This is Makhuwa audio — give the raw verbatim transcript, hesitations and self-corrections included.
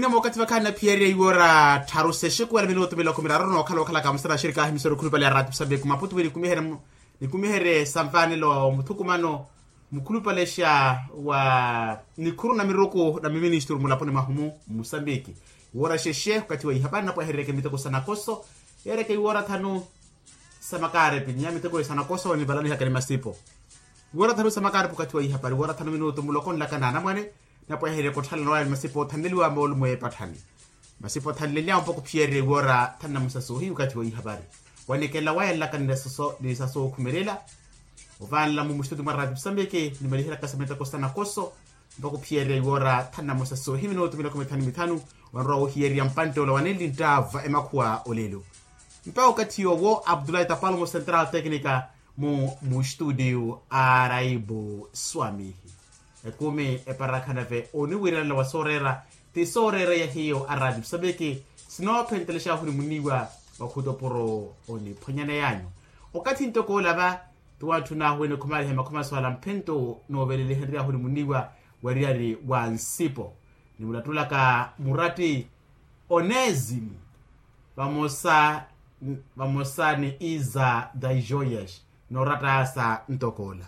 Nemo okathi vakhaani naphiyerya iwoora tharu sexekuwa na minutu miloko miraru nookhala okhalaka musana axirikaahi misoro khulupale ya rati musambiki maputu wi nikumiherye sanvanelo muthukumano mukhulupalexa wa nikhuru na miruku na miministuru mulaponi mwahumu musambiki. Iwoora xexe okathi wa ihapari napwaherereke miteko sa nakoso yeereke iwoora thanu sa makaarepi n'iya miteko sa nakoso nivalanihaka ni masipo. Iwoora thanu sa makaarepi okathi wa ihapari iwoora thanu minutu muloko nlaka na anamwane napweherereke otthalana waya ni masipo othanleliwa moolumo y'epatthani. Masipo othanleliwa mpakha ophiyererya iwoora thanu na musasohi okathi wa ihapari wanikela waya nlaka ni sasookhumelela. Ovaanla mu mustuti mwa rati musambiki nimaliheryaka sa miteko sa nakoso mpakha ophiyererya iwoora thanu na musasohi minutu miloko mithanu mithanu. Wanrowa wohiyererya mpantte ola wanenli nttaava emakhuwa olelo mpakha okathi yoowo abdulahi tapalomo central tecnica mu mustudio araibu swamihi. Ekumi eparakha nave oniwiiranela wa sooreera ti sooreera ya hiyo arati musambiki sinoophentelexahu ni muniiwa wa khutopuro oniphwanyaneyanyu. Okathi ntoko ola va ti wantthun'ahu wene khumaliha makhuma soala mphento noovelelihenry'ahu ni muniiwa weriyari wa nsipo nimulattulaka muratti onesimu vamosa vamosa ni iza daijoyas noorattaya sa ntokoola.